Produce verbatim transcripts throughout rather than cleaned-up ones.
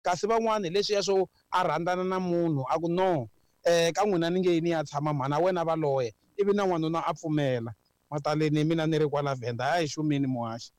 Kasi van'wani hi leswiya swo a rhandzana na munhu a ku no um ka n'wina ni nge yi ni ya tshama mhana wena va loya, ivi na n'wanuna a pfumela. Mataleni mina ni ri kwala Venda, hayi xumini muhaxi.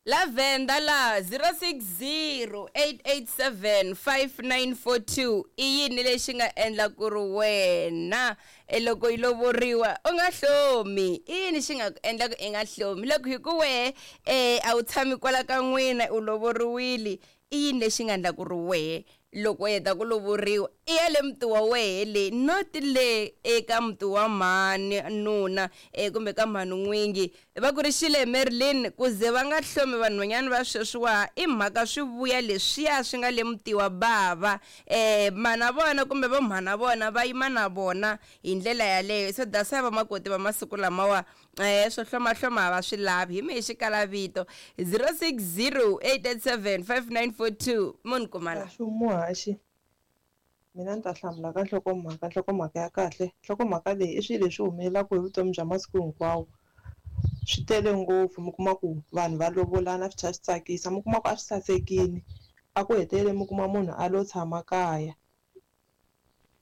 La Venda la zero six zero eight eight seven five nine four two i yini lexi nga endla ku ri wena e loko yi lovoriwa u nga hlomi? I yini xi nga ku endla ku i nga hlomi loko hi ku wehe um a wu tshami kwala ka n'wina u lovoriwile? I yini lexi nga endla ku ri wehe loko u heta ku lovoriwa i ya le muti wa wehe le, not le eka muti wa mhani nuna e kumbe ka mhani n'wingi? Va ku ri xile Marilyn, ku ze va nga hlomi vanhwanyana va sweswiwa i mhaka swi vuya leswiya swi nga le muti wa bava, um mana vona kumbe vo mhana vona va yima na vona hi ndlela yaleyo. So that's why vamakoti va masiku lamawa um swo hlomahloma va swi lavi. Hi mehe xikala vito zero six zero eight eight seven five nine four two munhu kumala Muhaxi, mina ni ta hlamula ka nhlokomhaka, nhlokomhaka ya kahle. Nhlokomhaka leyi i swilo leswi humelelaka hi vutomi bya masiku hinkwawo. Swi tele ngopfu, mi kuma ku vanhu va lovolana swi tlhela swi tsakisa, mi kuma ku a swi sasekile, a ku hetelele mi kuma munhu a lo tshama kaya.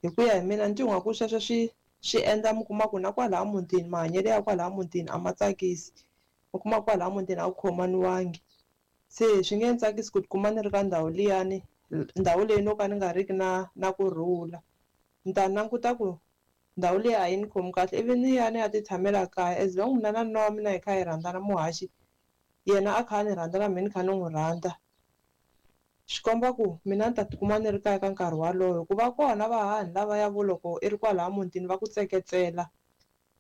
Hi ku ya hi mina ni twa ingaku sweswo swi swi endla mi kuma ku na kwalaya mutini mahanyelo ya kwalaya mutini a ma tsakisi, mi kuma kwalaya mutini a ku khomaniwangi. Se swi nge ni tsakisi ku tikuma ni ri ka ndhawu liyani, ndhawu leyi no ka ni nga riki na na kurhula. Ni ta languta ku ndhawu leyi a yi ni khomi kahle, ivi ni ya ni ya ti tshamela kaya. As long mina na nuna wa mina hi kha hi rhandzana muhaxi, yena a kha a ni rhandza na mina ni kha ni n'wi rhandza, swi komba ku mina ni ta tikuma ni ri kaya ka nkarhi walowo. Hikuva kona vahahani lavaya vo loko i ri kwalaya mutini va ku tseketsela,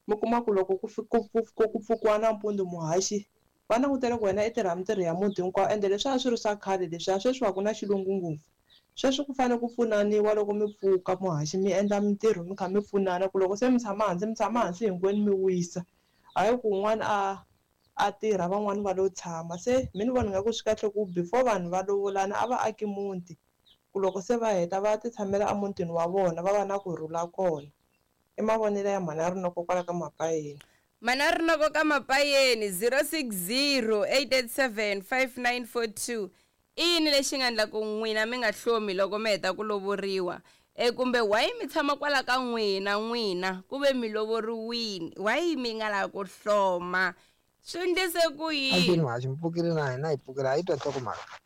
mi kuma ku loko ku ku ku ku pfukiwa nampundzu muhaxi, va langutele ku wena i tirha mintirho ya muti hinkwawo. Ende leswi a swi ri swa khale leswiya, sweswi a ku na xilungu ngopfu. Sweswi ku fanele ku pfunaniwa loko mi pfuka muhaxi, mi endla mintirho mi kha mi pfunana, ku loko se mi tshama hansi mi tshama hansi hinkwenu mi wisa, hayi ku un'wana a a tirha van'wani va lo tshama. Se mi ni vona nga ku swi kahle ku before vanhu va lovolana a va aki muti, ku loko se va heta va ti tshamela emutini wa vona, va va na kurhula kona. I mavonelo ya mhani ya Rinoko kwala ka Mapayeni. Mana Rinoko ka Mapayeni zero six zero eight eight seven five nine four two i yini lexi nga endla ku n'wina mi nga hlomi loko mi heta ku lovoriwa? E kumbe why mi tshama kwala ka n'wina n'wina ku ve mi lovoriwini, why mi nga lavi ku hloma? Swi endlise ku yini? Ankeni muhaxi, mi pfukile na hina hi pfukile, a yi twa nhlokomhaka.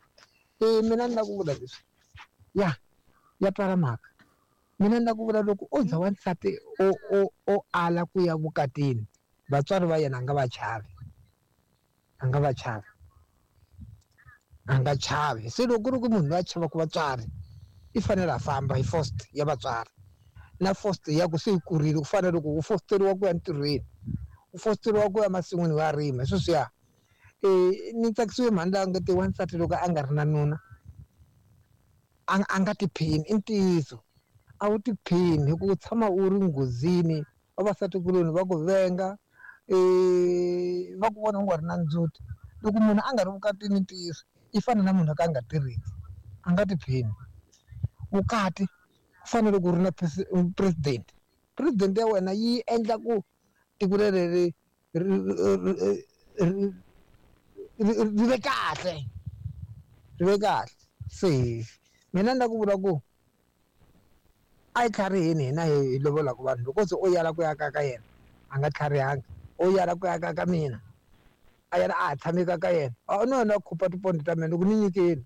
E mina ni lava ku vula leswi, ya ya twala mhaka. Mina ni lava ku vula loko o za wansati o o o ala ku ya vukatini, vatswari va yena a nga va chavi, a nga va chavi, a nga chavi. Se loko ku ri ku munhu loyi a chavaka vatswari i fanele a famba hi first ya vatswari, na first ya ku se yi kurile, ku fana na loko u fosteriwa ku ya ntirhweni, u fosteriwa ku ya masin'wini wa rima, sweswiya. E ni tsakisiwe mhani laha nga te wansati loko a nga ri na nuna a a nga tiphini. I ntiyiso, a wu tiphini hi ku tshama u ri nghozini, vavasatikuloni va ku venga, e va ku vona u nga ri na ndzhuti. Loko munhu a nga ri vukatini, ntiyiso i fana na munhu a ka a nga tirheki, a nga tiphini. Vukati ku fanele ku ri na president, president ya wena yi endla ku tiko leri ri ri ri ve kahle, ri ve kahle. Se mina ni lava ku vula ku a yi tlhariheni hina hi lovolaka vanhu. Loko se o yala ku ya ka ka yena a nga tlharihanga, o yala ku ya ka ka mina a yena a ha tshami ka ka yena, a no yena a khupa tipondo ta mina. Loko ni nyikile,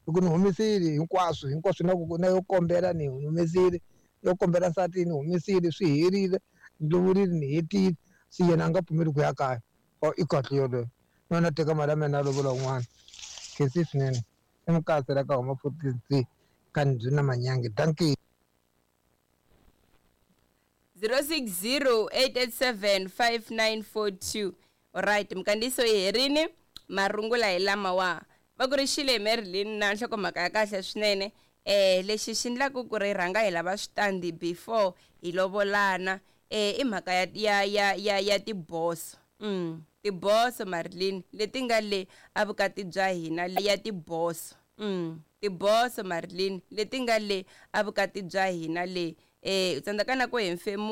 loko ni humesile hinkwaswo hinkwaswo, na ku na yo kombela ni humesile, yo kombela nsati ni humesile, swi herile, ni lovorile, ni hetile, se yena a nga pfumeli ku ya kaya, o i kahle yoloye. Na yena teka mali ya mina a lovola un'wana. Khensi swinene. I mukatsi la ka huma forty three ka ndzi na manyange. Dankie. zero six zero eight eight seven five nine four two. Alright, minkandziyiso yi herini, marungula hi lama wa. Va ku ri xile Marilyn na nhlokomhaka ya kahle swinene. Eh lexi xi endlaka ku ri rhanga hi lava switandi before hi lovolana, eh i mhaka ya ya ya ya ya tiboso. Mm, tiboso Marilyn leti nga le a vukati bya hina ya tiboso. Mm, tiboso Marilyn leti nga le a vukati bya hina le. Eh u tsandzeka na ku hefemula.